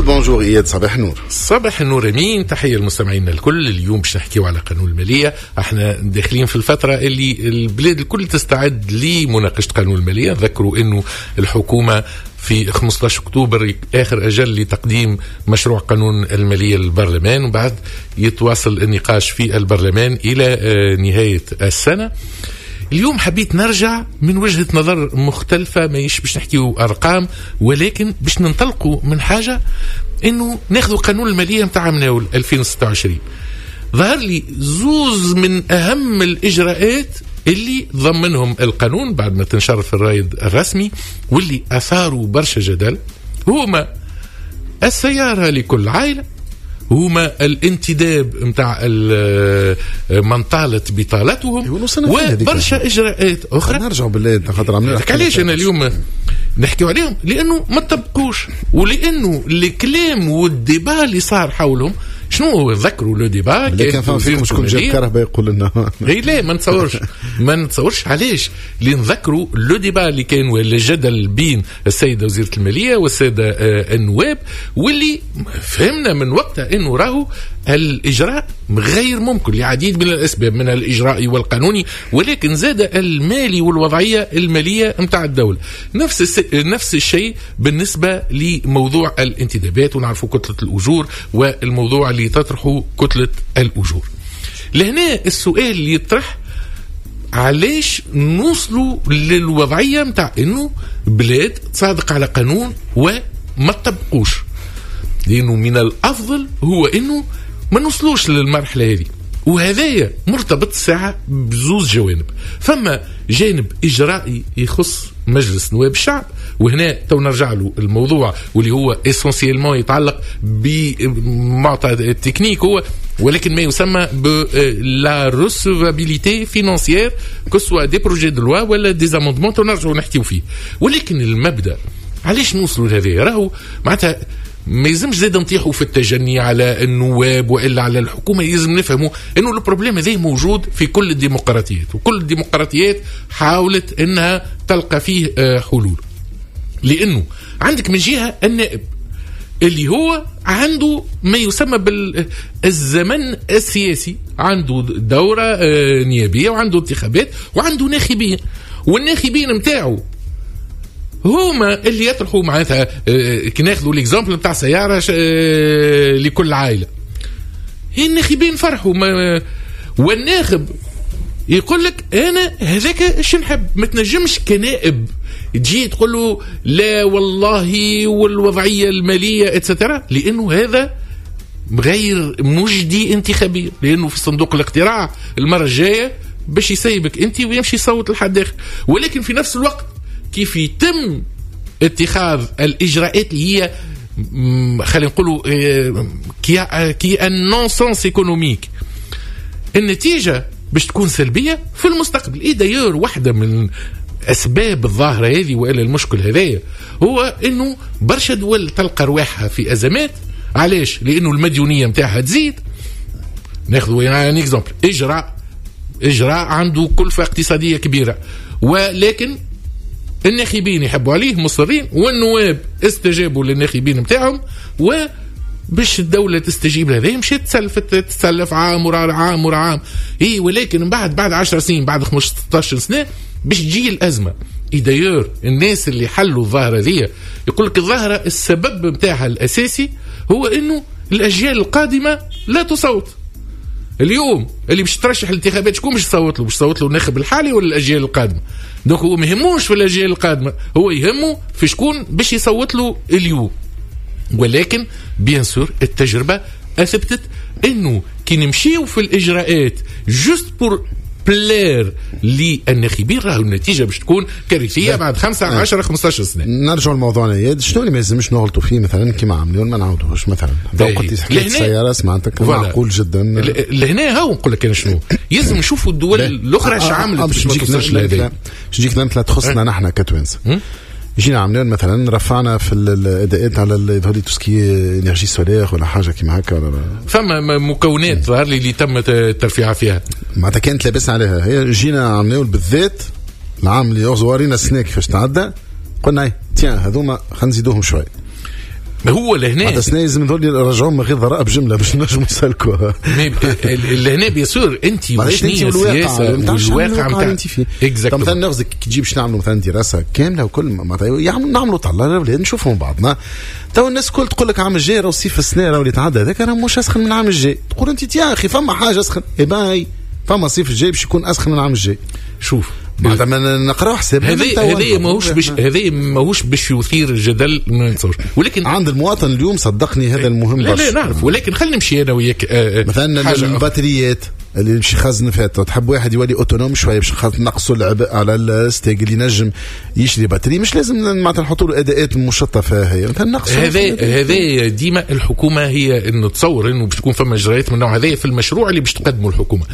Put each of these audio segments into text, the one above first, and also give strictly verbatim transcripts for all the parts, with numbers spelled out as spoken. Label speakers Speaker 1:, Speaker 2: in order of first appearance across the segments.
Speaker 1: bonjour اياد، صباح النور.
Speaker 2: صباح النور امين، تحية للمستمعين الكل. اليوم باش نحكيو على قانون الماليه. احنا داخلين في الفترة اللي البلاد الكل تستعد لمناقشة قانون الماليه. ذكروا انه الحكومة في خمسطاش اكتوبر اخر اجل لتقديم مشروع قانون المالية للبرلمان، وبعد يتواصل النقاش في البرلمان الى آه، نهاية السنه. اليوم حبيت نرجع من وجهة نظر مختلفة، ماهيش باش نحكيو أرقام، ولكن باش ننطلقوا من حاجة إنه ناخذوا قانون المالية نتاع عام ألفين وستة وعشرين. ظهر لي زوز من أهم الإجراءات اللي ضمنهم القانون بعد ما تنشر في الرايد الرسمي واللي أثاروا برشا جدل، هما السيارة لكل عائلة، هما الانتداب نتاع من طالت بطالتهم، وبرشا اجراءات اخرى.
Speaker 1: نرجعوا بالله
Speaker 2: خاطر عملنا علاش انا اليوم نحكيو عليهم؟ لانه ما طبقوش، ولانه الكلام وال débat اللي صار حولهم. شنو ذكروا le débat؟
Speaker 1: كان فما فيكم شكون جاب كرهبة يقول لنا.
Speaker 2: اي لا، ما نتصورش، ما نتصورش. علاش؟ لان ذكروا le débat اللي كان ولا الجدل بين السيدة وزيره المالية والسادة آه، النواب، واللي فهمنا من وقتها انه راهو الاجراء غير ممكن لعديد من الاسباب، من الاجراء والقانوني، ولكن زاد المالي والوضعيه المالية نتاع الدوله. نفس الس... نفس الشيء بالنسبة لموضوع الانتدابات، ونعرفوا كتلة الاجور والموضوع اللي تطرحه كتلة الاجور. لهنا السؤال اللي يطرح: علاش نوصلوا للوضعيه نتاع انه بلاد تصادق على قانون وما تطبقوش؟ لانه من الافضل هو انه ما نوصلوش للمرحلة هذه. وهذايا مرتبط الساعة بزوز جوانب. فما جانب إجرائي يخص مجلس نواب الشعب، وهنا تو نرجع له الموضوع، واللي هو essentiellement يتعلق بمعطى تكنيك هو، ولكن ما يسمى ب la recevabilité financière، que ce soit des projets de loi ولا des amendements، تو نرجعوا نحكيو فيه. ولكن المبدا، علاش نوصلوا لهذا؟ راهو معناتها ما يلزمش زاد نطيحوا في التجني على النواب والا على الحكومه. يلزم نفهموا انه ال problème هذا موجود في كل الديمقراطيات، وكل الديمقراطيات حاولت انها تلقى فيه آه، حلول. لانه عندك من جهة النائب اللي هو عنده ما يسمى بالزمن السياسي، عنده دورة آه، نيابية وعنده انتخابات وعنده ناخبين، والناخبين نتاعو هما اللي يطرحوا. معناتها آه، كي ناخذوا l'exemple نتاع سيارة آه، لكل عائله، الناخبين فرحوا، والناخب يقول لك انا هذاك ايش نحب. ما تنجمش كنائب تجي تقول له لا والله والوضعيه المالية et cetera، لانه هذا غير مجدي انتخابيا، لانه في صندوق الاقتراع المرة الجاية باش يسيبك انت ويمشي يصوت لحد اخر. ولكن في نفس الوقت كيف يتم اتخاذ الاجراءات اللي هي خلينا نقولوا qui qui est un non-sens économique، النتيجة باش تكون سلبية في المستقبل. et d'ailleurs واحدة من اسباب الظاهرة هذه والا المشكل هذايا هو انه برشا دول تلقى رواحها في ازمات. علاش؟ لانه المديونيه نتاعها تزيد. ناخذ يعني exemple، اجراء اجراء عنده كلفه اقتصادية كبيره، ولكن الناخبين يحبوا عليه، مصرين، والنواب استجابوا للناخبين نتاعهم، و باش الدولة تستجيب لهذا مشات تسلفت، تسلف عام ورا عام ورا عام. اي ولكن من بعد بعد عشر سنين، بعد خمسطاش سنة، باش تجي الأزمة. et d'ailleurs الناس اللي حلوا الظاهرة ذي يقول لك الظاهرة السبب نتاعها الأساسي هو انه الأجيال القادمة لا تصوت. اليوم اللي باش ترشح الانتخابات، شكون باش يصوت له؟ باش يصوت له الناخب الحالي ولا الاجيال القادمه؟ donc هو ما يهموش في الاجيال القادمه، هو يهمه في شكون باش يصوت له اليوم. ولكن bien sûr التجربة اثبتت انه كي نمشيو في الاجراءات juste pour plaire للناخبين، راهو النتيجة باش تكون كارثية بعد خمسة عشرة خمسطاش سنه.
Speaker 1: نرجع لموضوعنا اياد، شنو اللي ما لازمش نغلطوا فيه مثلا كيما عملوا ما نعاودوش مثلا؟ قلت حكاية السيارة سمعتك، معقول جدا.
Speaker 2: لهنا هاو نقول لك انا شنو يلزم نشوفوا الدول الاخرى اش عملت
Speaker 1: باش ما توصلش لهذا. باش نجيك امثلة تخصنا نحن كتوانسه. جينا عملنا مثلا رفعنا في الاداءات على يظهر لي tout ce qui est énergie solaire ولا حاجة كيما هكا ولا
Speaker 2: فما مكونات ظهر لي اللي تم الترفيع فيها.
Speaker 1: معناتها كانت لاباس عليها هي. جينا عملنا بالذات العام اللي ورينا السنة كيفاش تعدى، قلنا tiens هذوما خلينا نزيدوهم شوي.
Speaker 2: هو لهنا
Speaker 1: معناتها سنة لازم ذول يرجعوهم من غير ضرائب جملة باش نجموا يسلكوها.
Speaker 2: لهنا bien sûr انت وشنية السياسة والواقع نتاع
Speaker 1: انت فيه. مثلا ناخذ كي تجي باش نعملوا مثلا دراسة كاملة وكل معناتها نعملوا طلع الاولاد نشوفهم بعضنا. تو الناس الكل تقول لك عام الجاي راهو صيف السنة راهو اللي تعدى هذاك راه مش اسخن من العام الجاي. تقول انت يا اخي فما حاجة اسخن، اي باي فما صيف الجاي باش يكون اسخن من العام الجاي.
Speaker 2: شوف
Speaker 1: معناتها ما نقراو حساب
Speaker 2: هذا هذا ماهوش باش هذا ماهوش باش يثير الجدل ما نتصورش، ولكن
Speaker 1: عند المواطن اليوم صدقني هذا المهم
Speaker 2: برشا. لا لا نعرف، ولكن خلينا نمشي انا وياك
Speaker 1: مثلا الباتريات اللي باش يخزن فيها، تحب واحد يولي autonome شوية باش نقصوا العبء على الستاغ اللي نجم يشري batterie، مش لازم معناتها نحطوا له اداءات مشطه فيها هي مثلا نقصوا
Speaker 2: هذا هذا ديما الحكومة هي انه تصور انه باش تكون فما اجراءات من النوع هذا في المشروع اللي باش تقدمه الحكومة.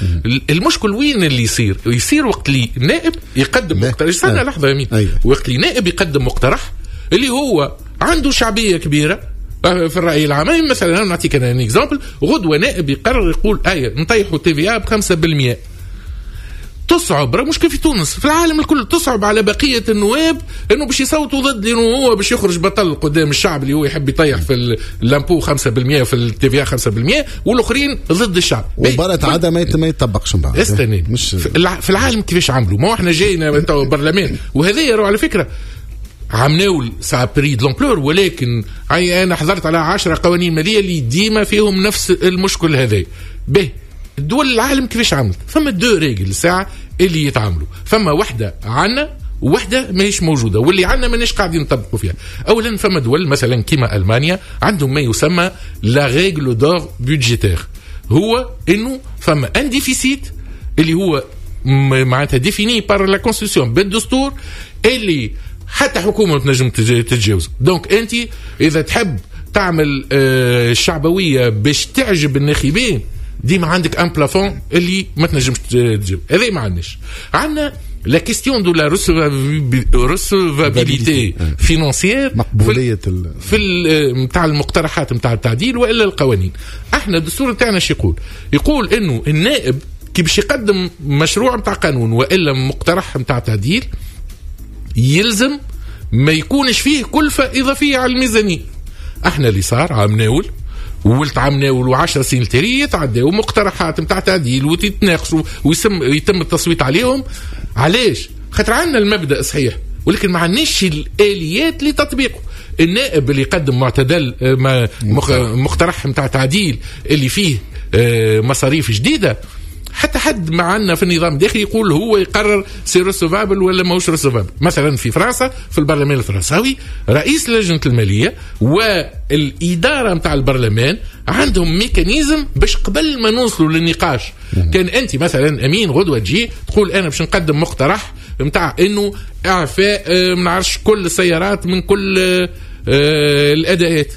Speaker 2: المشكل وين اللي يصير؟ يصير وقت اللي نائب يقدم مقترح، استنى لحظة يا مين، وقت اللي نائب يقدم مقترح اللي هو عنده شعبية كبيرة في الرأي العام. مثلا نعطيك انا un exemple، غدوه نائب يقرر يقول اي نطيحوا TVA ب خمسة بالمئة. تصعب، راه مش في تونس، في العالم الكل تصعب على بقية النواب انه باش يصوتوا ضد، لانه هو باش يخرج بطل قدام الشعب اللي هو يحب يطيح في l'impôt خمسة بالمئة في ال TVA خمسة بالمئة والاخرين ضد الشعب.
Speaker 1: وبرة عادة ما يطبقش من بعد.
Speaker 2: استني مش في العالم كيفاش عملوا؟ ما هو احنا جاينا تو برلمان، وهذا على فكرة عمناول ça a pris de l'ampleur، ولكن انا حضرت على عشرة قوانين ماليه اللي ديما فيهم نفس المشكل هذا. به الدول العالم كيفاش عملت؟ فما deux règles ساعة اللي يتعاملوا، فما وحده عنا وحده ماهيش موجودة، واللي عنا ماناش قاعدين نطبقوا فيها. اولا فما دول مثلا كيما المانيا عندهم ما يسمى la règle d'or budgétaire، هو انه فما un déficit اللي هو معناتها défini par la constitution بالدستور اللي حتى حكومة ما تنجم تتجاوز. donc انت اذا تحب تعمل الشعبوية باش تعجب الناخبين ديما عندك un plafond اللي ما تنجمش تجيب. هذا ما عندناش. عندنا la question de la recevabilité financière،
Speaker 1: مقبوليه
Speaker 2: في نتاع المقترحات نتاع التعديل والا القوانين. احنا الدستور نتاعنا شو يقول؟ يقول انه النائب كي باش يقدم مشروع نتاع قانون والا مقترح نتاع تعديل يلزم ما يكونش فيه كلفة إضافية على الميزانية. احنا اللي صار عام ناول وولت عام ناول وعشر سنين التالية يتعداو مقترحات نتاع تعديل وتتناقشوا ويسم يتم التصويت عليهم. علاش؟ خاطر عندنا المبدأ صحيح، ولكن ما عندناش الآليات لتطبيقه. النائب اللي يقدم معتدل مقترح نتاع تعديل اللي فيه مصاريف جديدة، حتى حد معنا في النظام الداخلي يقول هو يقرر c'est recevable ولا ماهوش recevable. مثلا في فرنسا في البرلمان الفرنساوي رئيس لجنة المالية والإدارة نتاع البرلمان عندهم mécanisme باش قبل ما نوصلوا للنقاش، كان أنت مثلا أمين غدوة تجي تقول أنا باش نقدم مقترح نتاع إنه إعفاء ما نعرفش كل السيارات من كل الأداءات،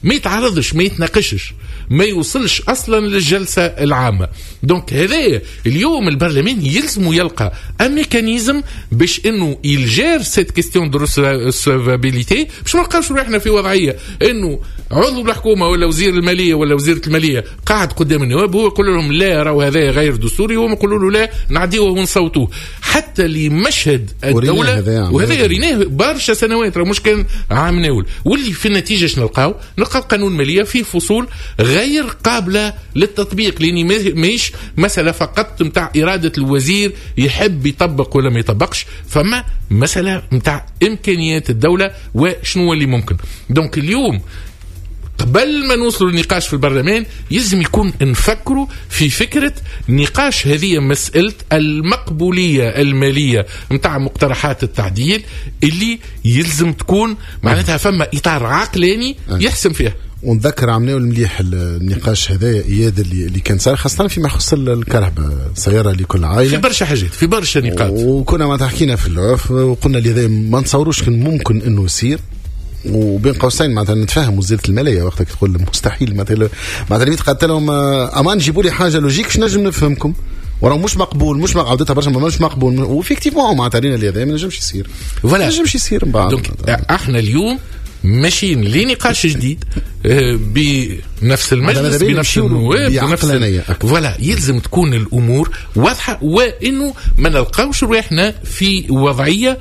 Speaker 2: ما يتعرضش ما يتناقشش ما يوصلش اصلا للجلسه العامة. donc هذا اليوم البرلمان يلزم يلقى un mécanisme باش انه il gère cette question de recevabilité، باش ما نلقاوش روحنا في وضعية انه عضو الحكومة ولا وزير المالية ولا وزيره المالية قاعد قدام النواب هو يقول لهم لا راهو هذا غير دستوري، وهم يقولوا له لا نعديوه ونصوتوه. حتى لمشهد الدولة، وهذا ريناه برشا سنوات راه مش كان عام ناول. واللي في النتيجة شنو نلقاو؟ نلقاو قانون ماليه فيه فصول غير قابلة للتطبيق، لأني ماهيش مسألة فقط متاع إرادة الوزير يحب يطبق ولا ما يطبقش، فما مسألة متاع إمكانيات الدولة وشنو اللي ممكن. donc اليوم قبل ما نوصلوا للنقاش في البرلمان يلزم يكون نفكروا في فكرة نقاش هذه مسألة المقبولية المالية متاع مقترحات التعديل اللي يلزم تكون معناتها فما إطار عقلاني يحسم فيها.
Speaker 1: ونذكر عملناه المليح النقاش هذا اياد اللي اللي كان صار خاصة فيما يخص الكهرباء السيارة لكل عائلة،
Speaker 2: في برشا حاجات في برشا نقاط،
Speaker 1: وكنا ما حكينا في العرف وقلنا اللي هذا ما نتصوروش كان ممكن انه يصير، وبين قوسين معناتها نتفاهم وزيره المالية وقتها تقول مستحيل، معناتها معناتها اللي قالت لهم امان جيبوا لي حاجة logique باش نجم نفهمكم، وراه مش مقبول، مش عودتها برشا مش مقبول، و effectivement معناتها رينا اللي هذا ما نجمش يصير، ما نجمش يصير من بعد.
Speaker 2: donc احنا اليوم ماشيين لنقاش جديد بنفس المجلس بنفس النواب بنفس voilà، يلزم تكون الامور واضحة، وانه ما نلقاوش روحنا في وضعية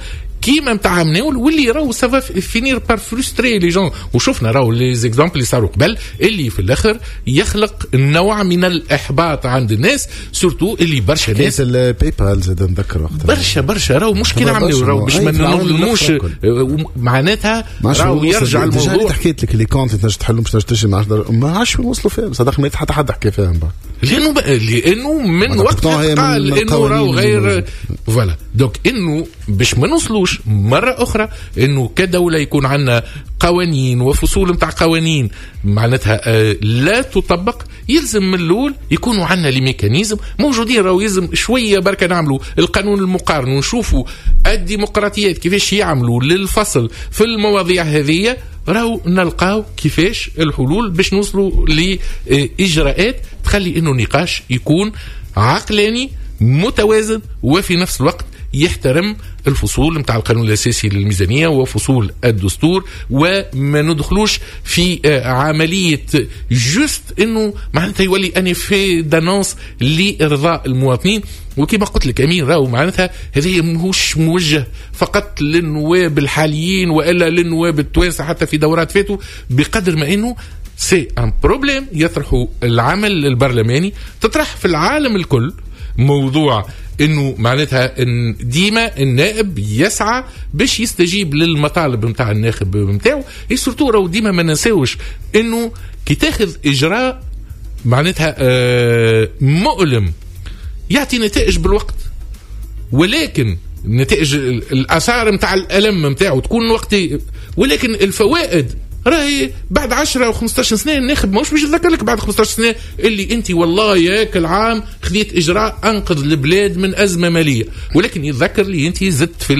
Speaker 2: كيما نتاع مناول، واللي راهو ça va finir par frustrer les gens. وشفنا راهو les exemples اللي صاروا قبل اللي في الاخر يخلق نوع من الاحباط عند الناس، surtout اللي برشا ناس
Speaker 1: ال PayPal زاد نذكر وقتها
Speaker 2: برشا برشا راهو مش كي عملوا راهو باش ما نظلموش معناتها راهو يرجع الموضوع.
Speaker 1: حكيت لك les comptes تنجم تحلهم باش تنجم تشري، ما عادش وصلوا فيها صدق، ما حتى حد حكى فيها من بعد،
Speaker 2: لانه لانه من وقتها قال انه راهو غير voilà. donc انه باش ما نوصلوش مرة اخرى انه كدولة يكون عندنا قوانين وفصول نتاع قوانين معناتها آه لا تطبق، يلزم من الاول يكونوا عندنا les mécanismes موجودين. راهو يلزم شوية بركة نعملوا القانون المقارن ونشوفوا الديمقراطيات كيفاش يعملوا للفصل في المواضيع هذه، راهو نلقاو كيفاش الحلول باش نوصلوا لاجراءات تخلي انه النقاش يكون عقلاني متوازن وفي نفس الوقت يحترم الفصول نتاع القانون الاساسي للميزانيه وفصول الدستور، وما ندخلوش في عملية juste انه معناتها يولي un effet d'annonce لارضاء المواطنين. وكما قلت لك امين راهو معناتها هذه ماهوش موجه فقط للنواب الحاليين والا للنواب التوانسة حتى في دورات فاتوا، بقدر ما انه c'est un problème يطرحه العمل البرلماني، تطرح في العالم الكل موضوع انه معناتها ان ديما النائب يسعى باش يستجيب للمطالب نتاع الناخب نتاعو. surtout راهو ديما ما ننساوش انه كي تاخذ اجراء معناتها آه مؤلم يعطي نتائج بالوقت، ولكن نتائج الاثار نتاع الالم نتاعو تكون وقتي، ولكن الفوائد راهي بعد عشرة او خمسطاش سنة. الناخب ماهوش باش يتذكر لك بعد خمسطاش سنة اللي انت والله ياك العام خذيت اجراء انقذ البلاد من ازمة ماليه، ولكن يتذكر لي انت زدت في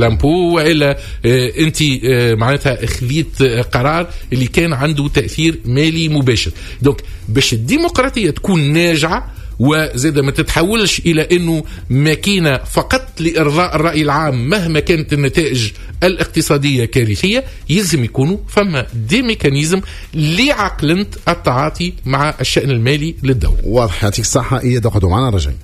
Speaker 2: l'impôt والا اه انت اه معناتها خذيت قرار اللي كان عنده تاثير مالي مباشر. donc باش الديمقراطية تكون ناجعة وزاد ما تتحولش الى انه ماكينة فقط لارضاء الراي العام مهما كانت النتائج الاقتصادية كارثية، يلزم يكونوا فما des mécanismes لعقلنة التعاطي مع الشان المالي للدولة.
Speaker 1: واضح، يعطيك الصحة اياد، اقعدوا معنا رجعين.